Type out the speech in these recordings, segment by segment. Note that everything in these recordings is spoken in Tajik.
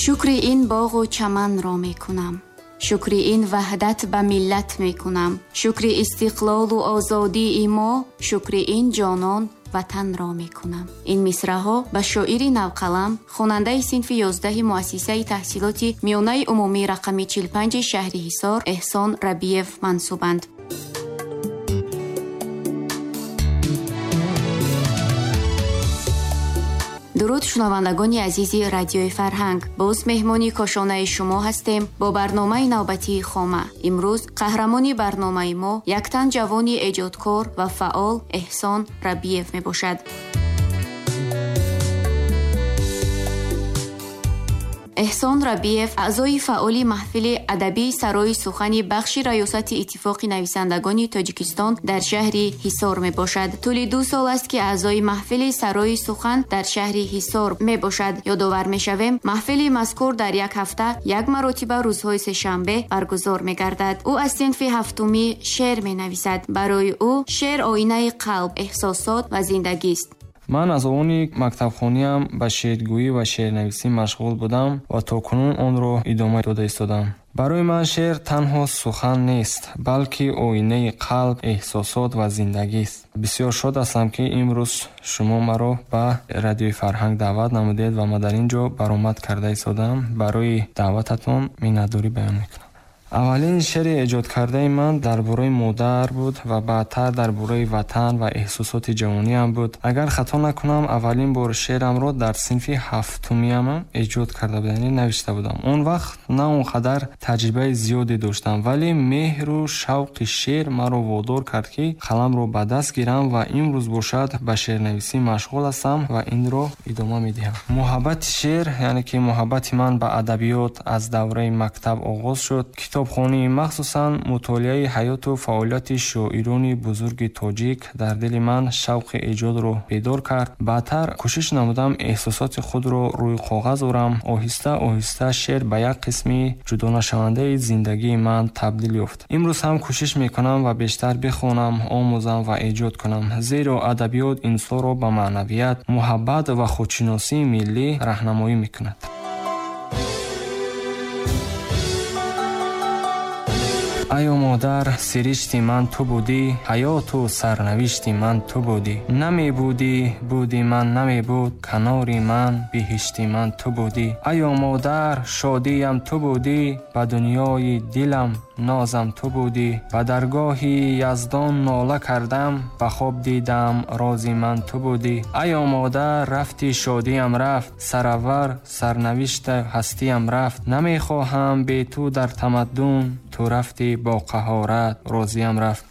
Шукри ин боғу чаманро мекунам, шукри ин ваҳдат ба миллат мекунам, шукри истиқлолу озодии мо, шукри ин ҷонон ватанро мекунам. Ин мисраҳо ба шоири навқалам, хонандаи синфи 11 муассисаи таҳсилоти миёнаи умумии рақами 45 шаҳри Ҳисор Эҳсон Рабиев мансубанд. Дуруд шунавандагони азизи радиои Фарҳанг. Боз меҳмони кошонаи шумо ҳастем бо барномаи навбатии Хома. Имрӯз қаҳрамони барномаи мо яктан ҷавони эҷодкор ва фаъол Эҳсон Рабиев мебошад. Эҳсон Рабиев аъзои фаъоли маҳфили адабии Сарои сухани бахши раёсати Иттифоқи нависандагони Тоҷикистон дар шаҳри Ҳисор мебошад. Тӯли 2 сол аст, ки аъзои маҳфили Сарои сухан дар шаҳри Ҳисор мебошад. Ёдовар мешавем, маҳфили мазкур дар як ҳафта як маротиба рӯзҳои сешанбе баргузор мегардад. Ӯ аз синфи ҳафтумӣ шеър менависад. Барои ӯ шеър оинаи қалб, эҳсосот ва зиндагист. Ман аз овони мактабхониам ба шеъргӯӣ ва шеърнависӣ машғул будам ва то кунун онро идома дода истодам. Барои ман шеър танҳо сухан нест, балки оинаи қалб, эҳсосот ва зиндагист. Бисёр шод ҳастам, ки имрӯз шумо маро ба радиои Фарҳанг даъват намудед ва ман дар ин ҷо баромад карда истодам. Барои даъвататон миннатдорӣ баён мекунам. Аввалин шеъри эҷодкардаи ман дар бораи модар буд ва баъдтар дар бораи ватан ва эҳсосоти ҷавониам буд. Агар хато накунам, аввалин бор шеърамро дар синфи ҳафтумиам эҷод карда будам, яъне навишта будам. Он вақт на он қадар таҷрибаи зиёде доштам, вале меҳру шавқи шеър маро водор кард, ки қаламро ба даст гирам ва имрӯз бошад ба шеърнависӣ машғул ҳастам ва инро идома медиҳам. Муҳаббати шеър, яъне ки муҳаббати ман ба адабиёт аз давраи мактаб оғоз шуд. Китобхонӣ, махсусан мутолиаи ҳаёту фаъолияти шоирони бузурги тоҷик дар дили ман шавқи эҷодро бедор кард. Баъдтар кӯшиш намудам эҳсосоти худро рӯи коғаз орам. Оҳиста оҳиста шеър ба як қисми ҷудонашавандаи зиндагии ман табдил ёфт. Имрӯз ҳам кӯшиш мекунам ва бештар бихонам, омӯзам ва эҷод кунам, зеро адабиёт инсонро ба маънавият, муҳаббат ва худшиносии миллӣ раҳнамоӣ мекунад. Айо модар, сиришти ман ту будӣ, ҳаёту сарнавишти ман ту будӣ. Намебудӣ, буди ман намебуд, канори ман, биҳишти ман ту будӣ. Айо модар, шодиям ту будӣ, ба дунёи дилам нозам ту будӣ. Ба даргоҳи яздон нола кардам, ба хоб дидам рози ман ту будӣ. Айо модар, рафти шодиям рафт, сараввар сарнавишта ҳастиям рафт. Намехоҳам бе ту дар тамаддун, ту рафти бо қаҳорат розиям рафт.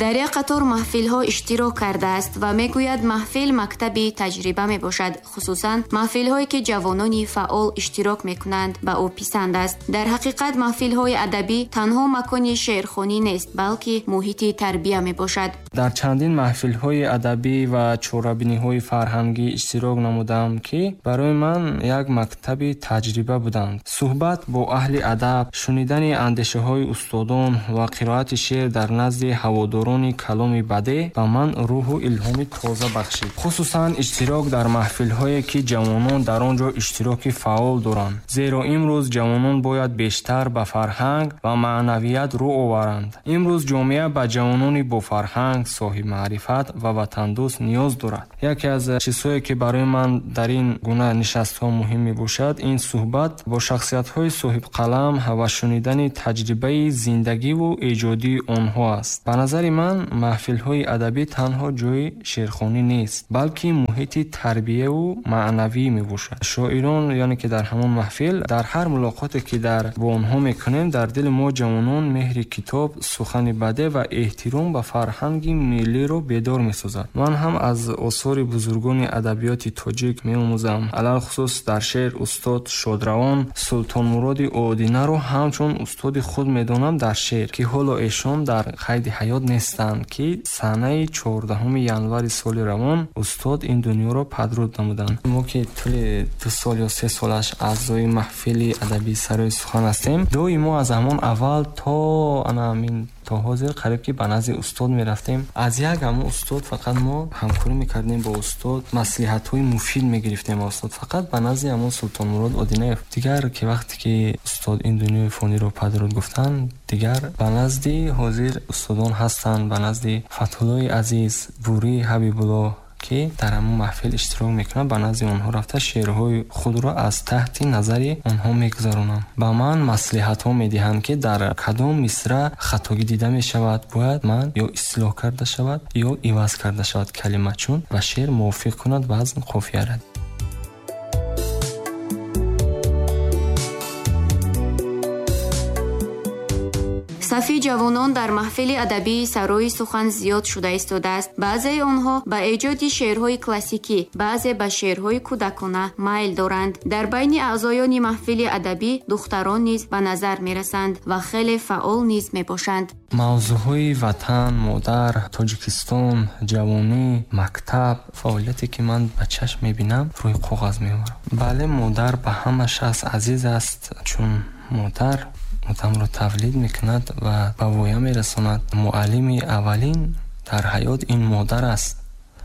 Дар як қатор маҳфилҳо иштирок кардааст ва мегӯяд маҳфил мактаби таҷриба мебошад, хусусан маҳфилҳое ки ҷавонони фаъол иштирок мекунанд ба ӯ писанд аст. Дар ҳақиқат маҳфилҳои адабӣ танҳо макони шеърхонӣ нест, балки муҳити тарбия мебошад. Дар чандин маҳфилҳои адабӣ ва чорабиниҳои фарҳангӣ иштирок намудам, ки барои ман як мактаби таҷриба буданд. Суҳбат бо аҳли адаб, шунидани андешаҳои устодон ва қироати шеър дар назди ҳаводорон каломи баде ба ман рӯҳу илҳоми тоза бахшид. Хусусан иштирок дар маҳфилҳое, ки ҷавонон дар он ҷо иштироки фаъол доранд, зеро имрӯз ҷавонон бояд бештар ба фарҳанг ва маънавият рӯ оваранд. Имрӯз ҷомеа ба ҷавонони бофарҳанг, соҳибмаърифат ва ватандӯст ниёз дорад. Яке аз чизҳое, ки барои ман дар ин гуна нишастҳо муҳим мебошад, ин суҳбат бо шахсиятҳои соҳибқалам ва шунидани таҷрибаи зиндагиву эҷодии онҳо аст. Ба назари ман маҳфилҳои адабӣ танҳо ҷои шеърхонӣ нест, балки муҳити тарбияву маънавӣ мебошад. Шоирон, яъне ки дар ҳамон маҳфил, дар ҳар мулоқоте ки бо онҳо мекунем, дар дили мо ҷавонон меҳри китоб, сухани баде ва эҳтиром ба фарҳанги миллиро бедор месозад. Ман ҳам аз осори бузургони адабиёти тоҷик меомӯзам. Алалхусус дар шеър устод Шодравон Султонмуроди Одинаро ҳамчун устоди худ медонам дар шеър, ки ҳоло эшон дар қайди ҳаёт нест, ки санаи 14 январи соли равон устод ин дунёро падруд намуданд. Мо ки тӯли 2 сол ё 3 солаш аъзои маҳфили адабии Сарои сухан ҳастем, доимо аз ҳамон аввал то ана ҳамин То ҳозир қариб ки ба назди устод мерафтем. Аз як ҳамон устод фақат мо ҳамкорӣ мекардем бо устод, маслиҳатҳои муфид мегирифтем аз устод, фақат ба назди ҳамон Султонмурод Одинаев. Дигар ки вақте ки устод ин дунёи фониро падруд гуфтанд, дигар ба назди ҳозир устодон ҳастанд, ба назди Фатҳуллои Азиз, Бурӣ Ҳабибулло, ки дар ҳамон маҳфил иштирок мекунанд, ба назди онҳо рафта шеърҳои худро аз таҳти назари онҳо мегузаронам. Ба ман маслиҳатҳо медиҳанд, ки дар кадом мисра хатогӣ дида мешавад, бояд ман ё ислоҳ карда шавад, ё иваз карда шавад калима, чун ба шеър мувофиқ кунад вазн қофияра. Сафи ҷавонон дар маҳфили адабии Сарои сухан зиёд шуда истодааст. Баъзеи онҳо ба эҷоди шеърҳои классикӣ, баъзе ба шеърҳои кӯдакона майл доранд. Дар байни аъзоёни маҳфили адабӣ духтарон низ ба назар мерасанд ва хеле фаъол низ мебошанд. Мавзӯъҳои ватан, модар, Тоҷикистон, ҷавонӣ, мактаб, фаъолияте ки ман ба чашм мебинам, рӯи коғаз меорам. Бале, модар ба ҳама шахс азиз аст, чун модар одамро тавлид мекунад ва ба воя мерасонад. Муаллими аввалин дар ҳаёт ин модар аст.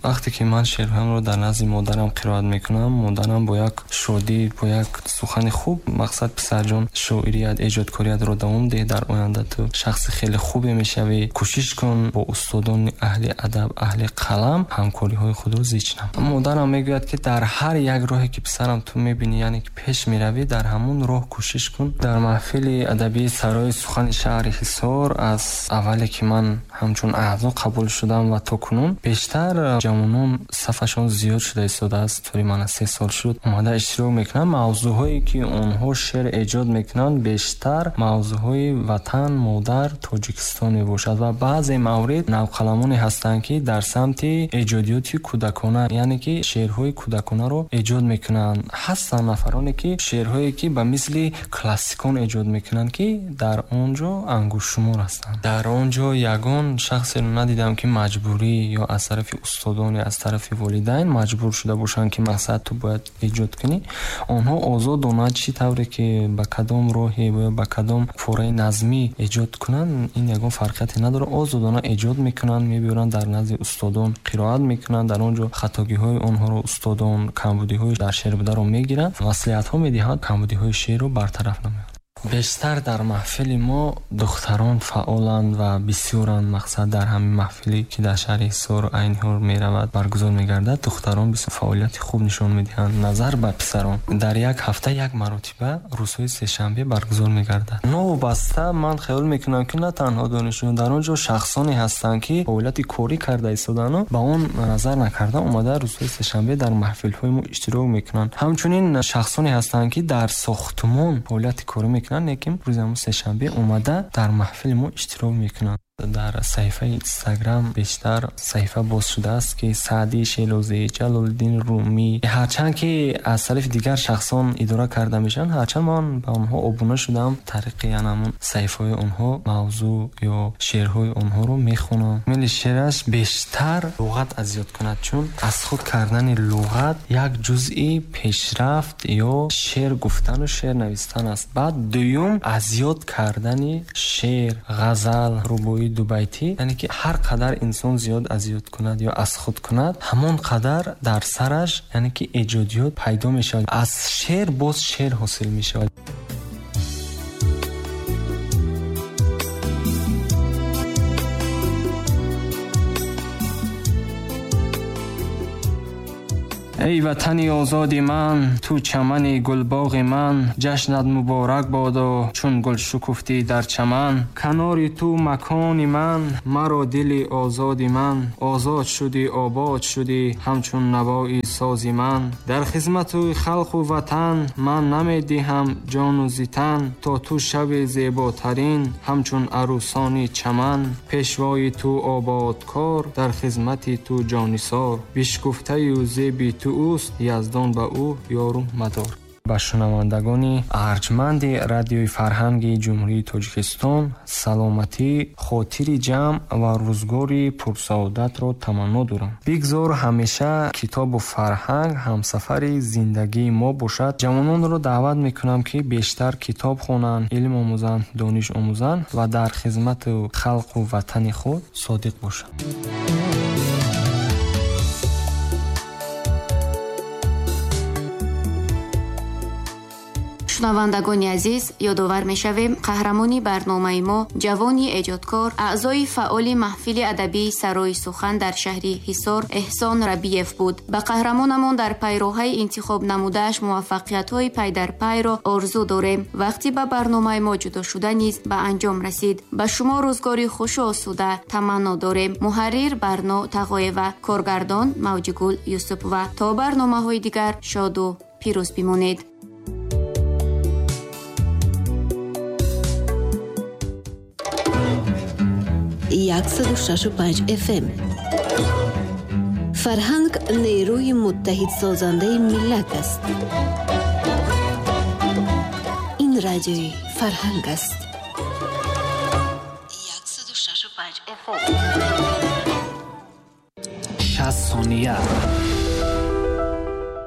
Вақте ки ман шеърҳоямро дар назди модарам қироат мекунам, модарам бо як шодӣ, бо як сухани хуб, мақсад писарҷон, шоирият, эҷодкориятро давом деҳ, дар оянда ту шахси хеле хубе мешавӣ, кӯшиш кун бо устодони аҳли адаб, аҳли қалам ҳамкориҳои худро зич нам. Модарам мегӯяд, ки дар ҳар як роҳе ки писарам ту мебинӣ, яъне ки пеш меравӣ, дар ҳамон роҳ кӯшиш кун. Дар маҳфили адабии Сарои сухани шаҳри Ҳисор аз аввале ки ман ҳамчун аъзо қабул шудам ва то кунун бештар ҷавонон сафашон зиёд шуда истодааст. Тӯли мана 3 сол шуд омада иштирок мекунанд. Мавзӯъҳое ки онҳо шеър эҷод мекунанд бештар мавзӯъҳои ватан, модар, Тоҷикистон мебошад ва баъзе маврид навқаламоне ҳастанд, ки дар самти эҷодиёти кӯдакона, яъне ки шеърҳои кӯдаконаро эҷод мекунанд. Ҳастанд нафароне ки шеърҳое ки ба мисли классикон эҷод мекунанд, ки дар он ҷо ангуштшумор ҳастанд. Дар он ҷо ягон шахсеро надидам, ки маҷбурӣ ё аз тарафи устодон, аз тарафи волидайн маҷбур шуда бошанд, ки мақсад ту бояд эҷод кунӣ. Онҳо озодона чӣ тавре ки ба кадом роҳе ё ба кадом фораи назмӣ эҷод кунанд, ин ягон фарқияте надорад. Озодона эҷод мекунанд, мебиёранд дар назди устодон қироат мекунанд, дар он ҷо хатогиҳои онҳоро устодон, камбудиҳои дар шеър бударо мегиранд, маслиҳатҳо медиҳанд, камбудиҳои шеърро бартараф намоянд. Бештар дар маҳфили мо духтарон фаъоланд ва бисёранд. Мақсад дар ҳамин маҳфиле ки дар шаҳри Ҳисор айни ҳол меравад, баргузор мегардад, духтарон бисёр фаъолияти хуб нишон медиҳанд назар ба писарон. Дар як ҳафта як маротиба рӯзҳои сешанбе баргузор мегардад. Новобаста ман хаёл мекунам, ки на танҳо донишҷӯён, дар он ҷо шахсоне ҳастанд, ки фаъолияти корӣ карда истодану ба он назар накарда омада рӯзҳои сешанбе дар маҳфилҳои мо иштирок мекунанд. Ҳамчунин шахсоне ҳастанд, ки дар сохтмон фаъолияти корӣ мекунанд, лекин рӯзи ҳамон сешанбе омада дар маҳфили мо иштирок мекунанд. Дар саҳифаи Инстаграм бештар саҳифа боз шудааст, ки Саъдӣ Шелозӣ, Ҷалолиддин Румӣ, ҳарчанд ки аз тарафи дигар шахсон идора карда мешаванд, ҳарчанд ман ба онҳо обуна шудам, тариқи ҳамон саҳифаҳои онҳо мавзӯъ ё шеърҳои онҳоро мехонам. Мили шеъраш бештар луғат аз ёд кунад, чун аз худ кардани луғат як ҷузъи пешрафт ё шеър гуфтану шеър навистан аст. Баъд дуюм аз ёд кардани шеър, ғазал, рубоӣ, дубайтӣ, яъне ки ҳар қадар инсон зиёд аз ёд кунад ё аз худ кунад, ҳамон қадар дар сараш, яъне ки эҷодиёт пайдо мешавад. Аз шеър боз шеър ҳосил мешавад. Эй ватани озоди ман, ту чамани гулбоғи ман, ҷашнат муборак бодо, чун гул шукуфтӣ дар чаман. Канори ту макони ман, маро дили озоди ман, озод шудӣ, обод шудӣ, ҳамчун навои сози ман. Дар хизмату халқу ватан ман намедиҳам ҷону зитан, то ту шави зеботарин, ҳамчун арӯсони чаман. Пешвои ту ободкор, дар хизмати ту ҷонисор, бишкуфтаю зеби ту ӯст, яздон ба ӯ ёру мадор. Ба шунавандагони арҷманди радиои фарҳанги Ҷумҳурии Тоҷикистон саломатӣ, хотири ҷамъ ва рӯзгори пурсаодатро таманно дорам. Бигзор ҳамеша китобу фарҳанг ҳамсафари зиндагии мо бошад. Ҷавононро даъват мекунам, ки бештар китоб хонанд, илм омӯзанд, дониш омӯзанд ва дар хизмату халқу ватани худ содиқ бошанд. Шунавандагони азиз, ёдовар мешавем, қаҳрамони барномаи мо, ҷавони эҷодкор, аъзои фаъоли маҳфили адабии Сарои сухан дар шаҳри Ҳисор Эҳсон Рабиев буд. Ба қаҳрамонамон дар пайроҳаи интихоб намудааш муваффақиятҳои пайдарпайро орзу дорем. Вақти ба барномаи мо ҷудо шуда низ ба анҷом расид. Ба шумо рӯзгори хушу осуда таманно дорем. Муҳаррир Барно Тағоева, коргардон Мавҷигул Юсупова. То барномаҳои дигар шоду пирӯз бимонед. 106.5 FM. Фарҳанг нерӯи муттаҳидсозандаи миллат аст. Ин радиои фарҳанг аст. 106.5 FM. 60 сония.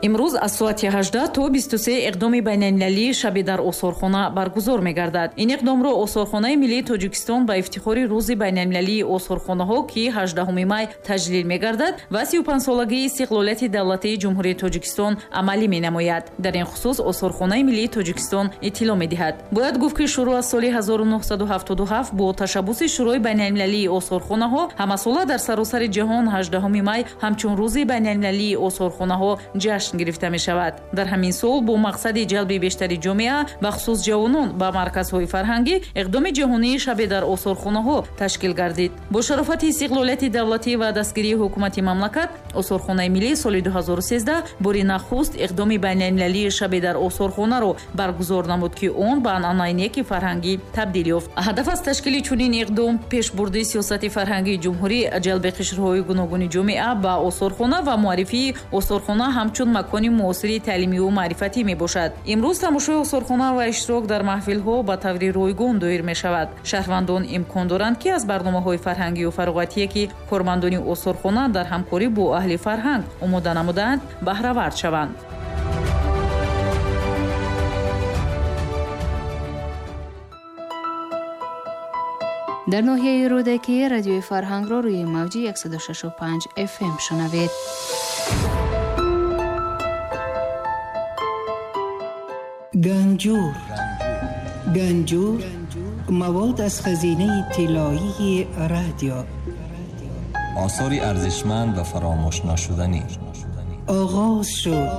Имрӯз аз соати 18 то 23 иқдоми байналмилалии шаби дар осорхона баргузор мегардад. Ин иқдомро Осорхонаи миллии Тоҷикистон ба ифтихори рӯзи байналмилалии осорхонаҳо, ки 18 май таҷлил мегардад ва 35-солагии истиқлолияти давлатии Ҷумҳурии Тоҷикистон амалӣ менамояд. Дар ин хусус Осорхонаи миллии Тоҷикистон иттилоъ медиҳад. Бояд гуфт, ки шурӯъ аз соли 1977 бо ташаббуси Шӯрои байналмилалии осорхонаҳо ҳамасола дар саросари ҷаҳон 18 май ҳамчун рӯзи байналмилалии осорхонаҳо ҷашн гирифта мешавад. Дар ҳамин сол бо мақсади ҷалби бештари ҷомеа, бахусус ҷавонон ба марказҳои фарҳангӣ, иқдоми ҷаҳонии шабе дар осорхонаҳо ташкил гардид. Бо шарофати истиқлолияти давлатӣ ва дастгирии ҳукумати мамлакат, Осорхонаи миллӣ соли 2013 бори нахуст иқдоми байналмилалии шабе дар осорхонаро баргузор намуд, ки он ба анъанаи неки фарҳангӣ табдил ёфт. Ҳадаф аз ташкили чунин иқдом пешбурди сиёсати фарҳангии ҷумҳурӣ, ҷалби қишрҳои гуногуни ҷомеа ба осорхона ва муаррифии осорхона ҳамчун макони муосири таълимию маърифатӣ мебошад. Имрӯз тамошои осорхона ва иштирок дар маҳфилҳо ба таври ройгон доир мешавад. Шаҳрвандон имкон доранд, ки аз барномаҳои фарҳангию фароғатие, ки кормандони осорхона дар ҳамкорӣ бо аҳли фарҳанг омода намудаанд, баҳравард шаванд. Дар ноҳияи Рӯдакӣ радиои фарҳангро рӯи мавҷи 106.5 FM шунавед. Ганҷур. Ганҷур мавод аз хазинаи тиллоии радио. Осори арзишманд ва фаромӯшнашуданӣ. Оғоз шуд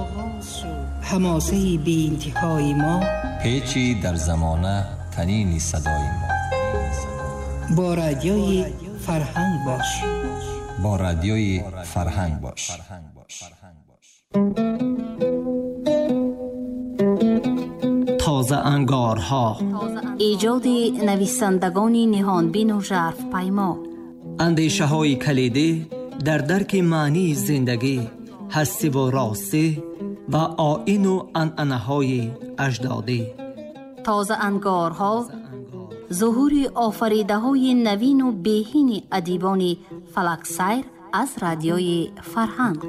ҳамосаи беинтиҳои мо. Печи дар замона танини садои мо. Бо радиои фарҳанг бош. Бо радиои фарҳанг бош. Тоза ангорҳо. Эҷоди нависандагони ниҳонбину жарфпаймо. Андешаҳои калидӣ дар дарки маънии зиндагӣ, ҳастиву ростӣ ва оину анъанаҳои аҷдодӣ. Тоза ангорҳо зуҳури офаридаҳои навину беҳини адибони фалаксайр аз радиои фарҳанг.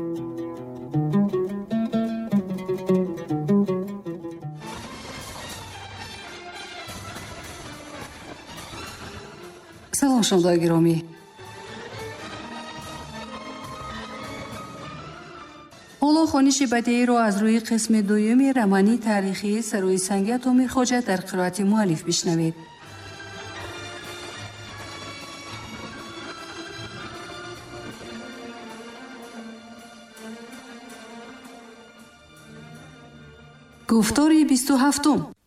Салом, шунавандагони гиромӣ. Ҳоло хониши бадеиро аз рӯи қисми дуюми романи таърихии Сарои санги Атомир Хоҷа дар қироати муаллиф бишнавед. Гуфтори 27.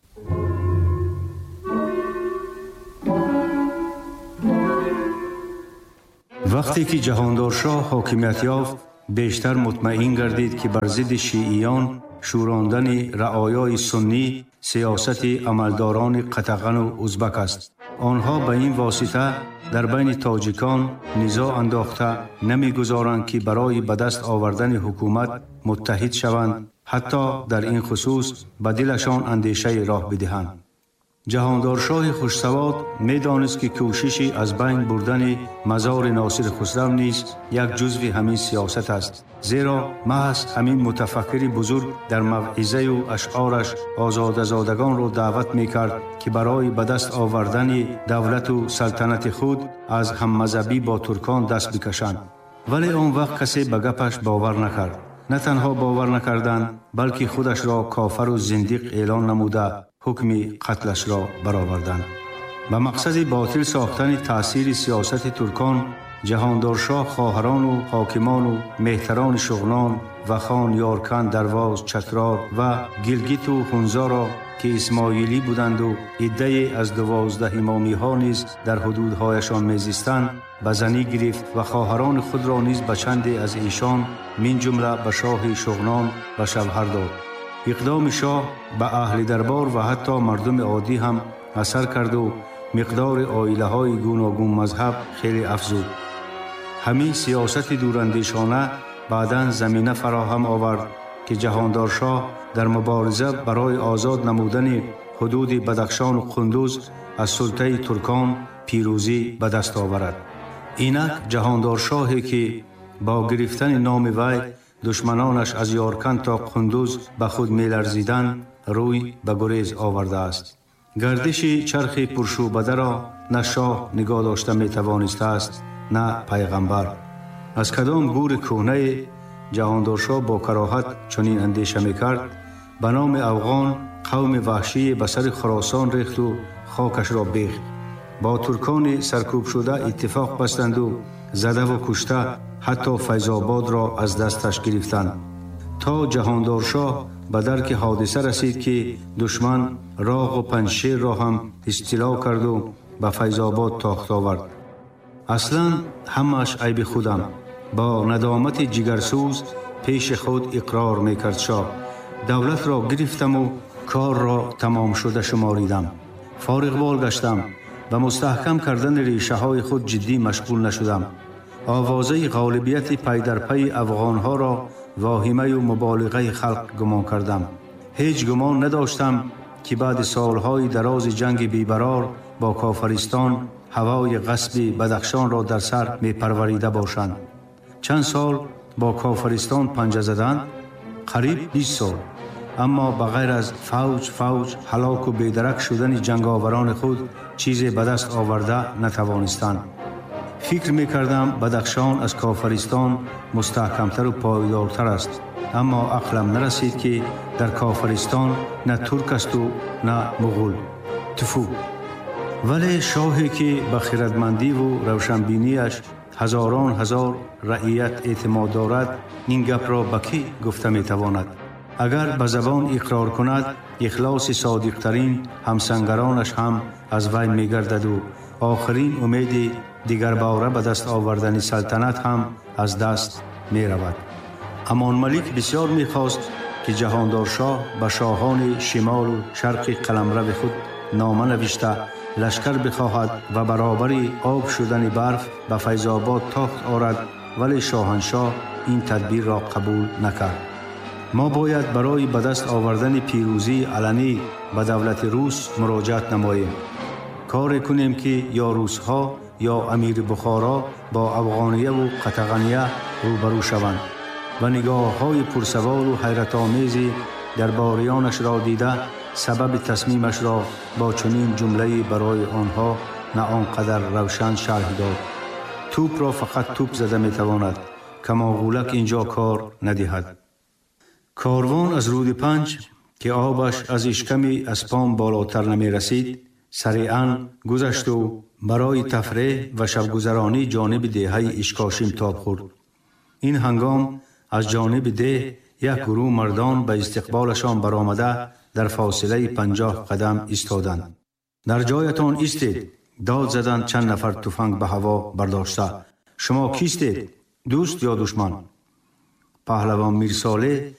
Вақте ки Ҷаҳондоршоҳ ҳокимият ёфт, бештар мутмаин гардид, ки бар зидди шииён шӯрондани раъоёи суннӣ сиёсати амалдорони қатағану узбак аст. Онҳо ба ин восита дар байни тоҷикон низоъ андохта намегузоранд, ки барои ба даст овардани ҳукумат муттаҳид шаванд Ҳатто дар ин хусус ба дилашон андешаи роҳ бидиҳанд. Ҷаҳондоршоҳи хушсавод медонист, ки кӯшиши аз байн бурдани мазори Носири Хусрав низ як ҷузви ҳамин сиёсат аст, зеро маҳз ҳамин мутафаккири бузург дар мавъизаю ашъораш озодазодагонро даъват мекард, ки барои ба даст овардани давлату салтанати худ аз ҳаммазҳабӣ бо туркон даст бикашанд. Вале он вақт касе ба гапаш бовар накард. На танҳо бовар накарданд, балки худашро кофару зиндиқ эълон намуда, ҳукми қатлашро бароварданд. Ба мақсади ботил сохтани таъсири сиёсати туркон, Ҷаҳондоршоҳ хоҳарону ҳокимону меҳтарони Шуғнон, Вахон, Ёрканд, Дарвоз, Чатрор ва Гилгиту Ҳунзоро, ки исмоилӣ буданду иддае аз 12 имомиҳо низ дар ҳудудҳояшон мезистанд, ба занӣ гирифт ва хоҳарони худро низ ба чанде аз эшон, мин ҷумла ба шоҳи Шуғнон, ба шавҳар дод. Иқдоми шоҳ ба аҳли дарбор ва ҳатто мардуми оддӣ ҳам асар карду миқдори оилаҳои гуногунмазҳаб хеле афзуд. Ҳамин сиёсати дурандешона баъдан замина фароҳам овард, ки Ҷаҳондоршоҳ дар мубориза барои озод намудани ҳудуди Бадахшону Қундуз аз султаи туркон пирӯзӣ ба даст оварад. Инак Ҷаҳондоршоҳе, ки бо гирифтани номи вай душманонаш аз Ёрканд то Қундуз ба худ меларзиданд, рӯй ба гурез овардааст. Гардиши чархи пуршӯбадаро на шоҳ нигоҳ дошта метавонистааст, на пайғамбар. Аз кадом гури кӯҳнае Ҷаҳондоршоҳ бо кароҳат чунин андеша мекард, ба номи афғон қавми ваҳшие ба сари Хуросон рехту хокашро бехт. Бо туркони саркӯбшуда иттифоқ бастанду задаву кушта ҳатто Файзободро аз дасташ гирифтанд. То Ҷаҳондоршоҳ ба дарки ҳодиса расид, ки душман Роғу Панҷшерро ҳам истило карду ба Файзобод тохт овард. Аслан ҳамааш айби худам. Бо надомати ҷигарсӯз пеши худ иқрор мекард шоҳ. Давлатро гирифтаму корро тамомшуда шуморидам. Фориғбол гаштам. Ба мустаҳкам кардани решаҳои худ ҷиддӣ машғул нашудам. Овозаи ғолибияти пайдарпайи афғонҳоро воҳимаю муболиғаи халқ гумон кардам. Ҳеҷ гумон надоштам, ки баъди солҳои дарози ҷанги бебарор бо Кофаристон ҳавои ғасби Бадахшонро дар сар мепарварида бошанд. Чанд сол бо Кофаристон панҷа заданд? Қариб 20 сол. Аммо ба ғайр аз фавҷ фавҷ ҳалоку бедарак шудани ҷанговарони худ чизе ба даст оварда натавонистанд. Фикр мекардам, Бадахшон аз Кофаристон мустаҳкамтару пойдортар аст, аммо ақлам нарасид, ки дар Кофаристон на турк асту на муғул. Туфу! Вале шоҳе, ки ба хирадмандиву равшанбинияш ҳазорон ҳазор раият эътимод дорад, ин гапро ба кӣ гуфта метавонад? Агар ба забон иқрор кунад, ихлоси содиқтарин ҳамсангаронаш ҳам аз вай мегардаду охирин умеди дигарбора ба даст овардани салтанат ҳам аз даст меравад. Амонмалик бисёр мехост, ки Ҷаҳондоршоҳ ба шоҳони шимолу шарқи қаламрави худ нома навишта, лашкар бихоҳад ва баробари об шудани барф ба Файзобод тохт орад, вале шоҳаншоҳ ин тадбирро қабул накард. Мо бояд барои ба даст овардани пирӯзии аланӣ ба давлати рус муроҷиат намоем. Коре кунем, ки ё русҳо, ё амири Бухоро бо афғонияву қатағания рӯбарӯ шаванд. Ва нигоҳҳои пурсаволу ҳайратомези дарбориёнашро дида, сабаби тасмимашро бо чунин ҷумлае барои онҳо на он қадар равшан шарҳ дод: Тӯпро фақат тӯп зада метавонад, камоғӯлак ин ҷо кор надиҳад. Корвон аз рӯди Панҷ, ки обаш аз ишками аспон болотар намерасид, сариъан гузашту барои тафреҳ ва шабгузаронӣ ҷониби деҳаи Ишкошим тоб хӯрд. Ин ҳангом аз ҷониби деҳ як гурӯҳ мардон ба истиқболашон баромада, дар фосилаи 50 қадам истоданд. Дар ҷоятон истед! Дод заданд чанд нафар туфанг ба ҳаво бардошта. Шумо кистед? Дӯст ё душман? Паҳлавон Мирсолеҳ.